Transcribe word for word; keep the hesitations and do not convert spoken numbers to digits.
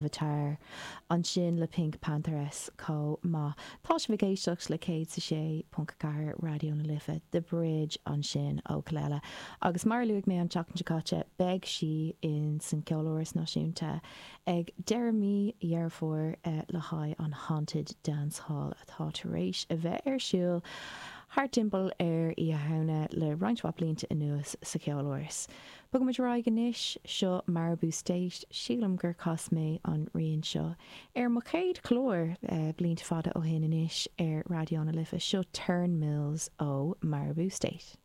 Avatar ansin le PinkPantheress chomh maith. Tá sibh ag éisteacht le céad sa sé ponc ceathair Raidió na Life, The Bridge ansin ó Kelela. Agus mar a luaigh mé an tseachtain seo caite, beidh sí in san Ceoláras Náisiúnta ag deireadh mí Dheireadh Fómhair le haghaidh an Haunted Dance Hall atá tar éis a bheith ar siúl thart timpeall ar Oíche Shamhna le roinnt mhaith blianta anuas sa Cheoláras. Bogaimid ar aghaidh anois seo Maribou State, sílim gur chas mé an rian seo ar mo chéad chlár eh, blianta fada ó shin anois ar Raidió na Life seo Turnmills ó Maribou State.